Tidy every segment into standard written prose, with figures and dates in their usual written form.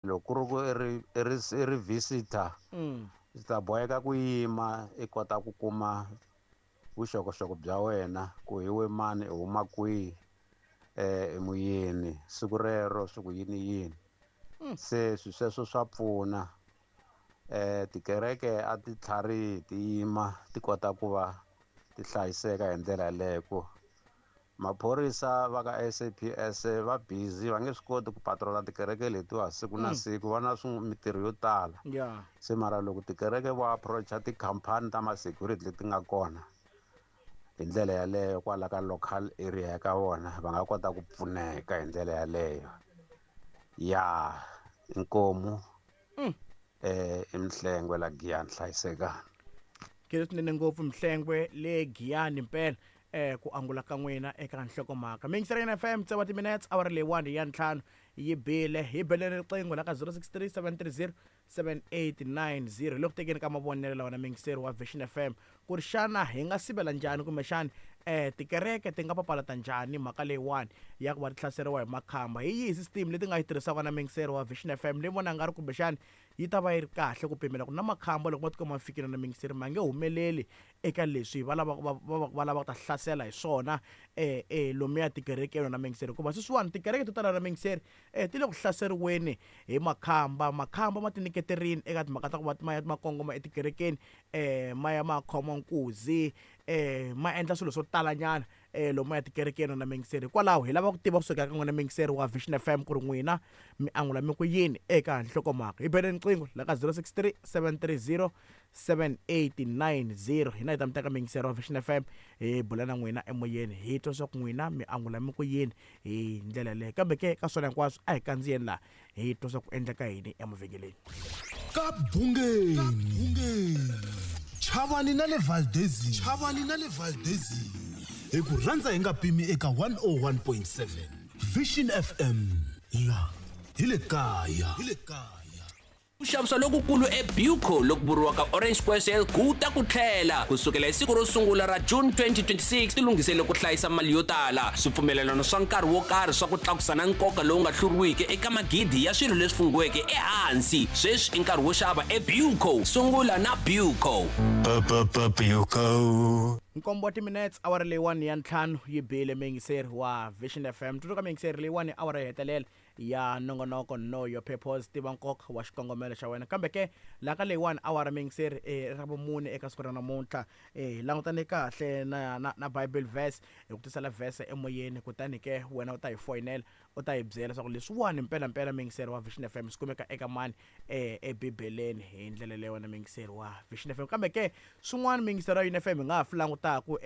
Loko ku ri ku i ri i ri i ri visitor u ta boheka ku yima i kota ku kuma vuxokoxoko bya wena ku hi we mani i huma kwihi i muyeni siku rero swi ku yini yini se swi sweswo swa pfuna tikereke a ti tlharihi ti yima ti kota ku va ti hlayiseka hi ndlela yaleyo ku Maphorisa va ka SAPS va busy va nge swi koti ku patrola tikereke letiwa siku na siku va na mitirho yo tala se mara loko tikereke vo approacha tikhampani ta ma-security leti nga kona hi ndlela yaleyo kwala ka local area ya ka vona va nga kota ku pfuneka hi ndlela yaleyo ya inkomu i Mhlengwe la Giyani hlayisekani. Khensa swinene ngopfu Mhlengwe le Giyani mpela ku angula ka n'wina eka nhlokomhaka. Mi yingisela Yena FM tsewa timinetse awara leyiwani ya ntlhanu yi bile hi beleni riqingho la ka 063 730 7890 hi le ku tekeni ka mavonelo lawa na muyingiseri wa Vision FM ku ri xana hi nga sivela njhani kumbexani tikereke ti nga papalata njhani mhaka leyiwani ya ku va ti hlaseriwa hi makhamba hi yihi system leti nga yi tirhisaka na muyingiseri wa Vision FM leyi vona nga ri kumbexani yi ta va yi ri kahle ku pimela ku na makhamba loko ma tikuma ma fikile na muyingiseri ma nge humeleli eka leswi va lavaka va va va lava ku ta hlasela hi swona lomuya tikerekeni na muyingiseri hikuva sweswiwani tikereke to tala na muyingiseri ti le ku hlaseriweni hi makhamba makhamba ma tinyiketerile eka timhaka ta ku va ma ya ma kongoma etikerekeni ma ya ma khoma nkuzi ma endla swilo swo talanyana lomu ya tikerekeni na muyingiseri hikwalaho hi lava ku tiva kusuka ka n'wina muyingiseri wa Vision F_M ku ri n'wina mi angula mi ku yini eka nhlokomhaka hi bele riqingho la ka 063 730 7890 hina hi ta mi teka muyingiseri wa Vision F_M hi bula na n'wina emoyeni hi twa swa ku n'wina mi angula mi ku yini hi ndlela leyo kambe ke ka swona hinkwaswo a hi kandziyeni laha hi twa swa ku endleka yini emavhengeleni ka bungeni chavani na le valdezini chavani na le valdezini hi ku rhandza hi nga pimi eka 101.7 vision fm la hi le kaya hi le kaya Ku xavisa lokukulu eBuco loku vuriwaka Orange Square Sale ku ta ku tlhela ku sukela hi siku ro sungula ra June 2026. Tilunghisele ku hlayisa mali yo tala, swipfumelelano swa nkarhi wo karhi swa ku tlakusa na nkoka lowu nga hluriwiki eka magidi ya swilo leswi funghiweke ehansi. Sweswi i nkarhi wo xava eBuco. Sungula na Buco. Buco. Nkombo wa timinetse awara leyiwani ya ntlhanu yi bile muyingiseri wa Vision FM. Tsundzuka muyingiseri leyiwani awara yo hetelela ya nongonoko Know Your Purpose, tiva nkoka wa xikongomelo xa wena. Kambe ke, laha ka leyiwani awara muyingiseri i ra vumune eka siku ra namuntlha, hi langutane kahle na, na, na Bible verse, hi ku tisela verse emoyeni, kutani ke wena u ta hi foyinela u ta hi byela leswaku leswiwani mpela-mpela muyingiseri wa Vision FM swi kumeka eka mani eBibeleni hi ndlela leyo wena muyingiseri wa Vision FM. Kambe ke, swin'wana muyingiseri wa Yuni FM hi nga ha swi langutaku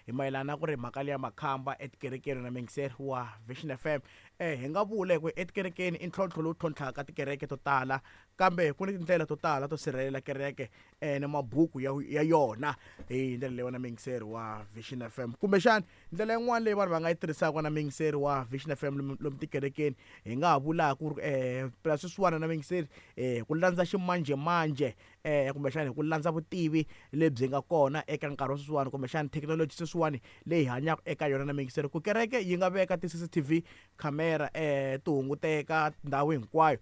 hi mayelana na ku ri mhaka leya makhamba etikerekeni na muyingiseri wa Vision FM. Hi nga vula hi ku etikerekeni i ntlhontlho lowu tlhontlhaka tikereke to tala, kambe ku ni tindlela to tala to sirhelela kereke ni mabuku ya, ya yona hi ndlela leyi wena muyingiseri wa Vision FM. Kumbexana ndlela yin'wana leyi vanhu va nga yi tirhisaka na muyingiseri wa Vision FM lomu, lomu tikerekeni hi nga ha vulaka ku ri phela sweswiwani na muyingiseri ku landza ximanjhemanjhe kumbexana hi ku landza vutivi lebyi nga kona eka nkarhi wa sweswiwani kumbexana thekinoloji sweswiwani leyi hi hanyaka eka yona na miyingiseri ku kereke yi nga veka ti-C_C_T_V camera ti hunguteka ndhawu hinkwayo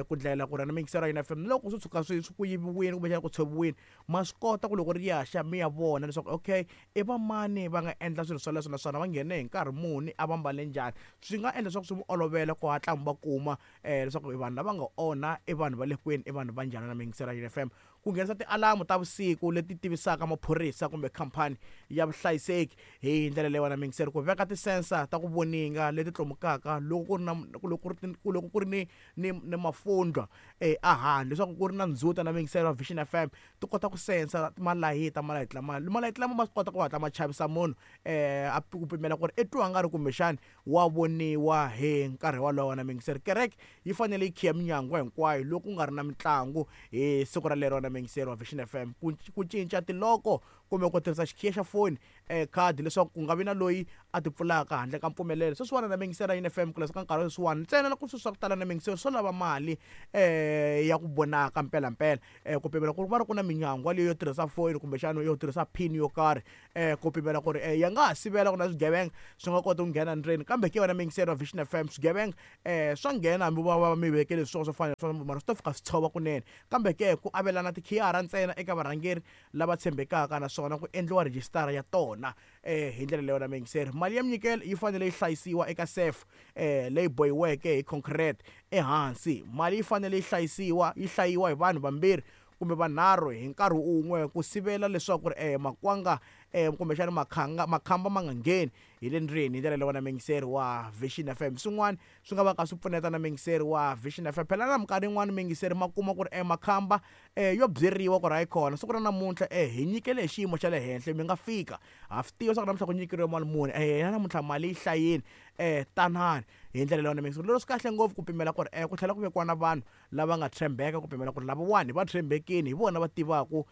ku ndlela ku ri na miyingiseri ya yona F_M loko swo tshuka swi ku yiviwile kumbexana ku tshoviwile ma swi kota ku loko ri ya xa mi ya vona leswaku okay i va mani va nga endla swilo swoleswo naswona va nghene hi nkarhi muni a va mbale njhani swi nga endla leswaku swi mi olovela ku hatla mi va kuma leswaku i vanhu lava nga onha i vanhu va le kwini i vanhu va njhani na miyingiselo ya F_M ku nghenisa tialamu ta vusiku leti tivisaka maphorisa kumbe khampani ya vuhlayiseki hi ndlela leyi wena miyingiseri ku veka ti-sensor ta ku voninga leti tlomukaka loko ku ri na loko ku ri loko ku ri ni ni ni mafundlwa ehandle leswaku ku ri na ndzhuti na miyingiselo ya Vision F_M ti kota ku sensa malayiti malayiti lama malayiti lama ma swi kota ku hatla ma chavisa munhu a ku pimela ku ri i twa nga ri kumbexani wa voniwa hi nkarhi wolowo na muyingiseri. Kereke yi fanele yi khiya minyangwa hinkwayo loko ku nga ri na mitlangu hi siku ralero na muyingiseri wa Vision F_M. Ku ku cinca tiloko kumbe ku tirhisa xikhiya xa foni Khadi leswaku ku nga vi na loyi a ti pfulaka handle ka mpfumelelo. Sweswiwani na miyingisela yini FM ku ka nkarhi sweswiwani ntsena loko swilo swa ku tala na miyingiselo swo lava mali ya ku vonaka mpelampela, ku pimela ku va ri ku na minyangwa leyi yo tirhisa foyini kumbexana yo tirhisa pin yo karhi, ku pimela ku ri ya nga ha sivela ku na swigevenga swi nga koti ku nghena ndzeni. Kambe ke wena miyingiselo wa Vision FM, swigevenga swa nghena hambi va va mi vekele swilo swo fana mara swi ta fika swi tshova kunene. Kambe ke ku avelana tikhiyara ntsena eka varhangeri lava tshembekaka naswona ku endliwa rhijisitara ya tona hi ndlela leyo na miyingiseri. Mali ya minyikelo yi fanele yi hlayisiwa eka safe leyi bohiweke hi concrete ehansi. Mali yi fanele yi hlayisiwa yi hlayiwa hi vanhu vambirhi kumbe vanharhu hi nkarhi wun'we ku sivela leswaku ri makwanga kumbexana makhanga makhamba ma nga ngheni hi le ndzeni. Hi ndlela leyo na miyingiseri wa Vision FM, swin'wana swi nga va ka swi pfuneta na miyingiseri wa Vision FM. Phela na minkarhi yin'wani miyingiseri ma kuma ku ri makhamba yo byeriwa ku ri hayi khona siku ra namuntlha hi nyikele hi xiyimo xa le henhla, mi nga fika ha swi tiva swa ku namuntlha ku nyikeriwe mali muni, hina namuntlha mali yi hlayini, tanani. Hi ndlela leyo na miyingiseri lero swi kahle ngopfu ku pimela ku ri ku tlhela ku vekiwa na vanhu lava nga tshembeka, ku pimela ku ri lavawani va tshembekile, hi vona va tivaka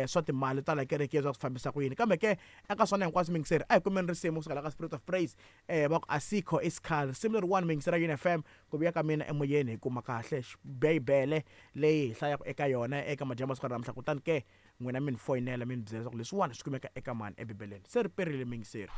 swa timali ta la kerekeni swa ku fambisa ku yini. Kambe ke eka swona hinkwaswo miyingiseri a hi kumeni risimu kusuka la ka Spirit of Praise, va ku asikho isikhali. Risimu leriwani miyingiseri ya UNFM ku vuya ka mina emoyeni hi kuma kahle bibele leyi hi hlayaka eka yona eka madyambu siku ra namuntlha. Kutani ke n'wina mi ni foyinela mi ni byela leswaku leswiwani swi kumeka eka mani ebibeleni. Se ri perile miyingiseri.